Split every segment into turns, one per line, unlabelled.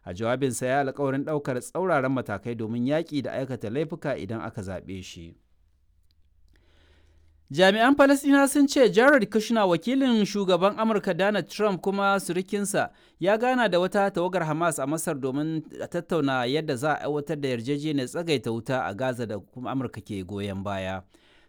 A jawabinsa ya alkawarin ɗaukar tsauraran matakai domin yaƙi da aikata laifuka idan aka zaɓe shi. Jami'an Falasɗinawa sun ce Jared Kushner, wakilin shugaban Amurka Donald Trump kuma surukinsa, ya gana da wata tawagar Hamas a Masar domin tattauna yadda za a aiwatar da yarjejeniyar tsagaita wuta a Gaza da kuma Amurka ke goyon baya.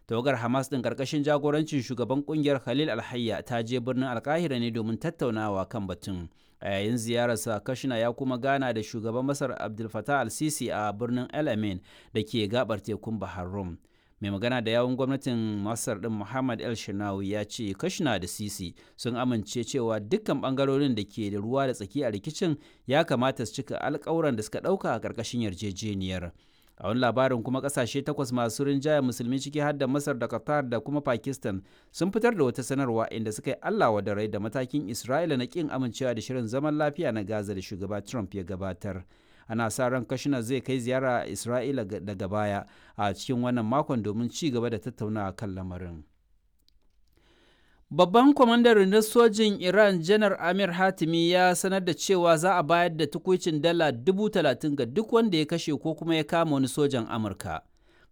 Tawagar Hamas ɗin ƙarƙashin jagorancin shugaban ƙungiyar Khalil Alhayya ta je birnin Alkahira ne domin tattaunawa kan batun. A yayin ziyararsa, Kushner ya kuma gana da shugaban Masar Abdel Fattah al-Sisi a birnin El Amin da ke gabar tekun Bahar Rum. Mai magana da yawun gwamnatin Masar din Muhammad El Shinawi ya ce Kashina da Sisi sun amince cewa dukkan bangarorin da ke da ruwa da tsaki a rikicin ya kamata su cika alkawuran da suka dauka a karkashin yarjejeniyar. A wani labarin kuma, kasashe takwas masu rinjaya Musulmi, ciki har da Masar da Qatar da kuma Pakistan, sun fitar da wata sanarwa inda suka yi Allah wa da rai da matakin Isra'ila na kin amincewa da shirin zaman lafiya na Gaza da shugaba Trump ya gabatar. Ana sa ran Kashina zai kai ziyara Isra'ila daga baya a cikin wannan makon domin ci gaba da tattaunawa kan lamarin. Babban kwamandan rundunar sojin Iran, Janar Amir Hatimi, ya sanar da cewa za a bayar da tukuicin dala 30,000 ga duk wanda ya kashe ko kuma ya kama wani sojan Amurka.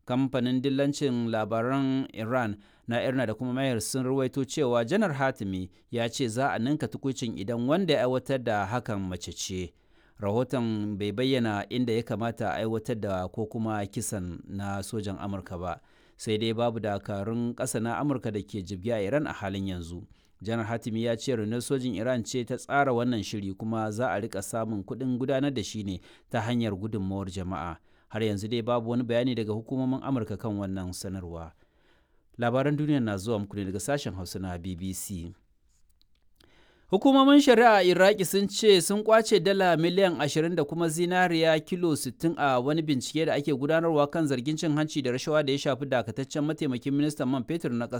Kamfanin dillancin labaran Iran na Irna da kuma Mayar sun ruwaito cewa Janar Hatimi ya ce za a ninka tukuicin idan wanda ya aiwatar da hakan mace ce. Rahoton bai bayyana inda ya kamata a aiwatar da ko kuma kisan na sojan Amurka ba. Sai dai babu dakarun ƙasa na Amurka da ke jibge a Iran a halin yanzu. Janar Hatimi ya ce rundunar sojin Iran ce ta tsara wannan shiri, kuma za a rika samun kuɗin gudanar da shi ne ta hanyar gudunmawar jama'a. Har yanzu dai babu wani bayani daga hukumomin Amurka kan wannan sanarwa. Labaran duniya na zuwa muku ne daga sashen Hausa na BBC. Hukumomin shari'a a Iraki sun ce sun kwace dala miliyan 20 da kuma zinariya kilo 60 a wani bincike da ake gudanarwa kan zargin cin hanci da rashawa da ya shafi dakataccen mataimakin ministan man fetur na kasar.